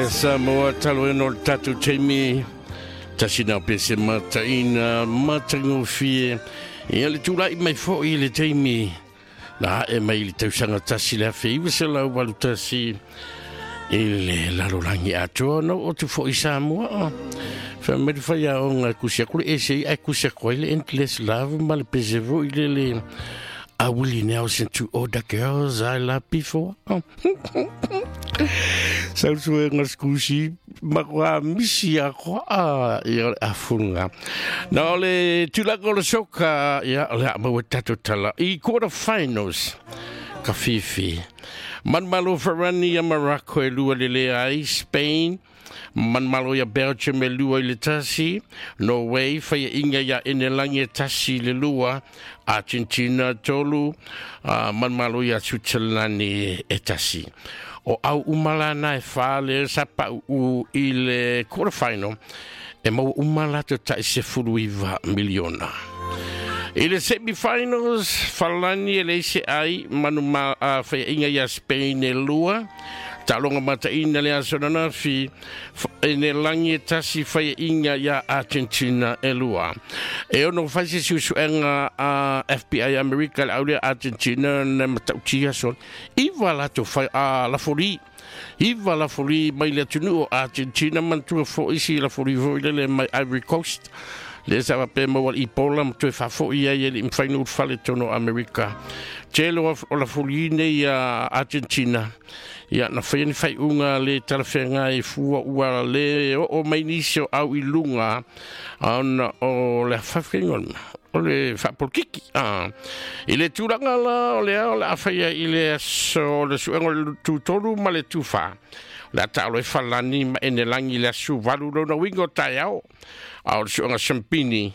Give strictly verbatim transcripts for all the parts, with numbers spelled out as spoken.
Samoa talu ai ona o le tatou taimi tasi na o pese mataina matagofie. Ia le tulai mai fo'i i le taimi na a'e mai i le tausaga tasi le afe iva selau valu tasi i le lalolagi atoa na oo atu fo'i Samoa. Fai mai le faiaoga e kusi aku le essay ae kusi aku ai le Endless Love ma le pese fo'i lele a Willie Nelson, To All the Girls I Loved Before. Sausuega sikusi makoa misi a koa ia o le afuga. Na o le tulaga o le soka, ia o le a maua tatou tala i quarter finals ka fifi. Manumalo Farani ia Morocco e lua le leai, Spain manumalo ia Belgium e lua i le tasi, Norway faiaʻiga ia Enelangi e tasi i le lua, Argentina tolu, uh, manumalo ia Switzerland e tasi. O au uma lana e fa le sa pa'u'u i le quarter final e maua uma latou ta'i sefulu iva miliona. I le semi-finals, Falani e leai se ai, manu ma uh, faiaʻiga ia Spain e lua, taaloga mataʻina le aso ananafi, Enelangi e tasi faiaʻiga ia Argentina e lua. E ono fai se suesuega a F B I Amerika le aulea Argentina na matautia so. Iva latou fai a lafoli. Iva lafoli mai le atunuu o Argentina manatua fo'i si lafoli fo'i lele mai Ivory Coast. Le sa pe maua le Ebola ma toe faafo'i ai e li'i mafai ona ulufale totonu o Amerika. Tele o lafoli nei ia Argentina. Ia na faia ni faaiuga le talafeagai fua ua le oo mai nisi o au i luga ona o le afaafaiga o le o le faapolokiki. Ah. I le tulaga la o lea o le a faia i le aso o le suega o le tutolu ma le tufa. O le a taalo e Falani ma Enelangi i le aso valu lona uiga o taeao. A o le suega Sampini,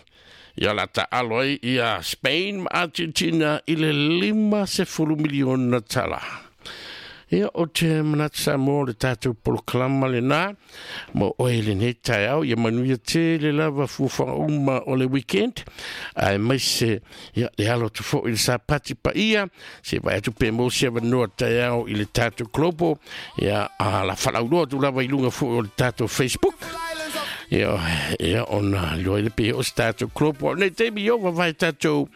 ia la taalo ai ia Spain ma Argentina i le lima sefulu miliona tala. Ia o te manatu Samoa o le tatou polokalama lenā mo oe lenei taeao ia manuia tele lava fuafuaga uma o le weekend ae maise ia le alo atu fo'i le sapati paia se vaai atu pe maua se avanoa taeao i le tatou global ia a la faalauloa atu lava i luga fo'i o le tatou Facebook. Ia, ia ona iloa ai le pe o se tatou global. O lenei taimi o vavae tatou.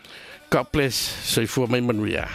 God bless. Soifua mai manuia.